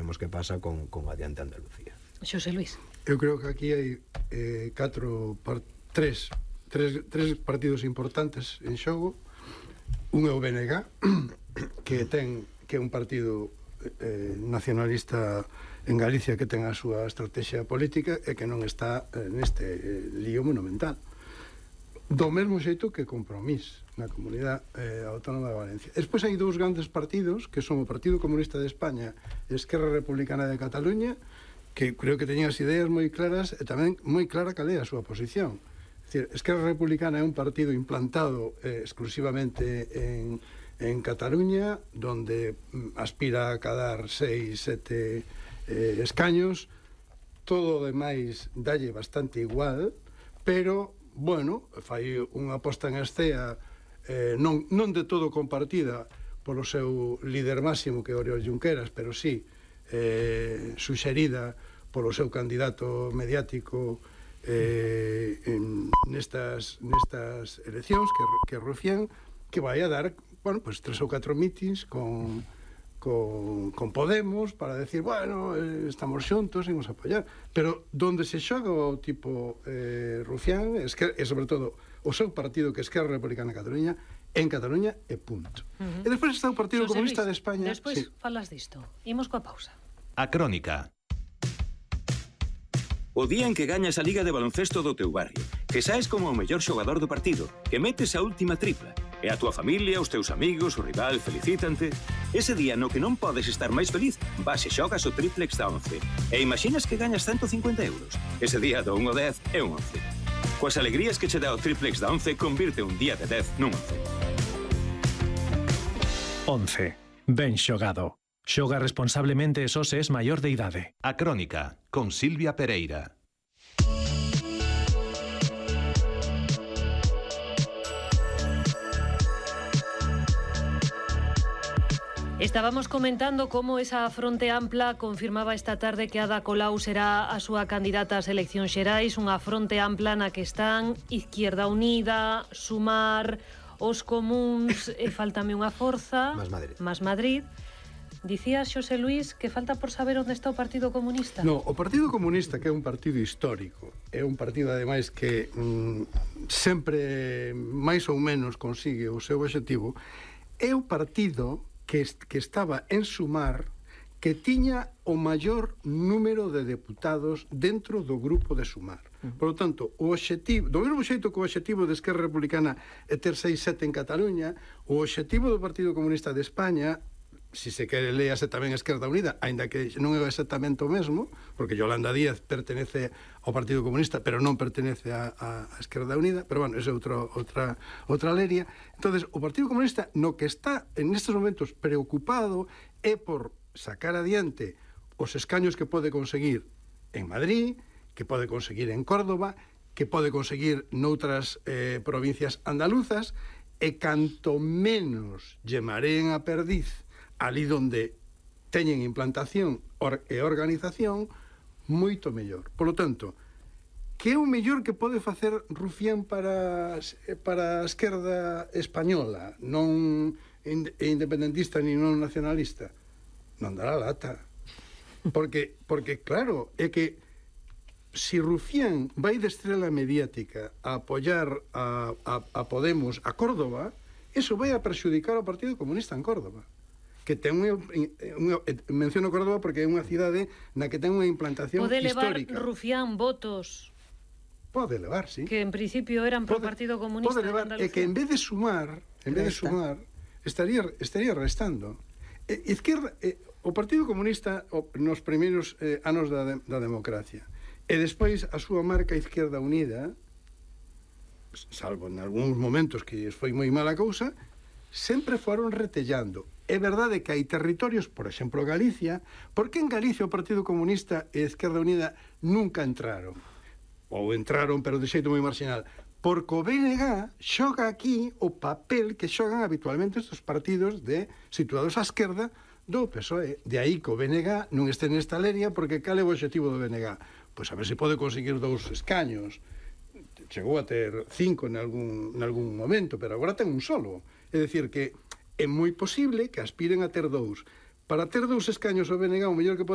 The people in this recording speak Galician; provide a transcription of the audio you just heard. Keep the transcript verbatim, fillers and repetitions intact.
veremos que pasa con, con Adiante Andalucía. Xosé Luis. Eu creo que aquí hai eh, catro, par, tres, tres, tres partidos importantes en xogo. Un é o B N G, que ten que é un partido eh, nacionalista en Galicia que ten a súa estrategia política e que non está eh, neste eh, lío monumental. Do mesmo xeito que Compromís na Comunidade eh, Autónoma de Valencia. Despois hai dous grandes partidos que son o Partido Comunista de España e Esquerra Republicana de Cataluña, que creo que teñen as ideas moi claras e tamén moi clara cal é a súa posición. É dicir, Esquerra Republicana é un partido implantado eh, exclusivamente en, en Cataluña, donde aspira a cadar seis, sete eh, escaños. Todo o demais dalle bastante igual, pero, bueno, fai unha posta en escea eh, non, non de todo compartida polo seu líder máximo, que é Oriol Junqueras, pero sí eh, suxerida polo seu candidato mediático eh, en, nestas, nestas eleccións, que, que Rufián, que vai a dar, bueno, pues tres ou catro mítins con, con, con Podemos para decir, bueno, eh, estamos xuntos, imos apoiar, pero donde se xoga o tipo eh, Rufián e sobre todo o seu partido, que é Esquerra Republicana de Cataluña, en Cataluña e punto. Uh -huh. E despois está o Partido Xosé Comunista Luis, de España. Despois sí. Falas disto. Imos coa pausa. A Crónica. O día en que gañas a Liga de Baloncesto do teu barrio, que saes como o mellor xogador do partido, que metes a última tripla, e a túa familia, os teus amigos, o rival felicítante, ese día no que non podes estar máis feliz, vas e xogas o triplex da once. E imaginas que gañas ciento cincuenta euros. Ese día do un ao dez é un once. Coas alegrías que che dá o triplex da once, convirte un día de dez nun once. once. Ben xogado. Xoga responsablemente e só se es maior de idade. A Crónica, con Silvia Pereira. Estábamos comentando como esa fronte ampla confirmaba esta tarde que Ada Colau será a súa candidata ás eleccións xerais, unha fronte ampla na que están Izquierda Unida, Sumar, os Comuns, e faltame unha forza, Más Madrid. Más Madrid. Dicías, Xosé Luis, que falta por saber onde está o Partido Comunista. No, o Partido Comunista, que é un partido histórico, é un partido, ademais, que mm, sempre máis ou menos consigue o seu obxectivo, é o partido que, que estaba en Sumar, que tiña o maior número de deputados dentro do grupo de Sumar. Por lo tanto, o obxectivo, do mesmo xeito que o obxectivo de Esquerra Republicana é ter seis sete en Cataluña, o obxectivo do Partido Comunista de España, si se quere léase tamén Esquerda Unida, aínda que non é exactamente o mesmo, porque Yolanda Díaz pertenece ao Partido Comunista, pero non pertenece a, a Esquerda Unida, pero bueno, esa é outro, outra, outra leria. Entonces, o Partido Comunista no que está en estes momentos preocupado é por sacar adiante os escaños que pode conseguir en Madrid, que pode conseguir en Córdoba, que pode conseguir noutras eh, provincias andaluzas, e canto menos lle mareen a perdiz ali donde teñen implantación or, e organización, moito mellor. Por lo tanto, que é o mellor que pode facer Rufián para, para a esquerda española, non independentista ni non nacionalista? Non dará lata. Porque, porque claro, é que si Rufián vai de estrela mediática a apoiar a, a, a Podemos a Córdoba, eso vai a perxudicar ao Partido Comunista en Córdoba, que ten unha, unha, menciono Córdoba porque é unha cidade na que ten unha implantación pode histórica. Pode levar Rufián votos? Pode levar, sí. Que en principio eran pro pode, Partido Comunista pode levar, de e que en vez de sumar, en vez de sumar, estaría, estaría restando. E, izquierda, e, o Partido Comunista o, nos primeiros eh, anos da, de, da democracia, e despois a súa marca Izquierda Unida, salvo en algúns momentos que foi moi mala cousa, sempre foron retellando. É verdade que hai territorios, por exemplo Galicia, porque en Galicia o Partido Comunista e a Esquerda Unida nunca entraron, ou entraron pero de xeito moi marginal, porque o B N G xoga aquí o papel que xogan habitualmente estes partidos de situados á esquerda do P S O E. De aí que o B N G non este nesta leria, porque cal é o objetivo do B N G? Pois a ver se pode conseguir dous escaños. Chegou a ter cinco en algún, en algún momento, pero agora ten un solo. É dicir que é moi posible que aspiren a ter dous. Para ter dous escaños o B N G, o mellor que pode